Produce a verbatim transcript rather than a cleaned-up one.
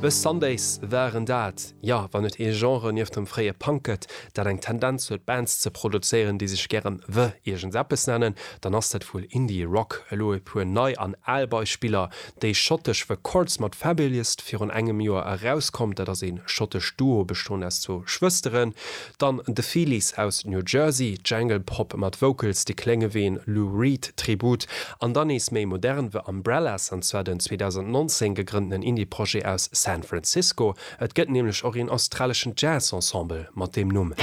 The Sundays waren dat. Ja, wann et ee Genre nieft dem fréie Punk gëtt, dat eng Tendenz huet Bands ze produzéieren, déi sech gären The iergendseppes nennen, dann ass dat wuel Indie Rock. Elo e puer nei an al Beispiller, déi schottesch The Chords mat Fabulist, virun engem Joer erauskomm, dat ass ee schottescht Duo bestoend aus zwou Schwësteren. Dann The Feelies aus New Jersey, Jangle Pop mat Vocals, déi klénge wéi en Lou Reed Tribut. An dann nees méi modern The Umbrellas, an zwar den zweedausendnonzéng gegrënnten Indie-Projet aus San Francisco. Et gëtt nämlech och een australeschen Jazz-Ensemble mat deem Numm.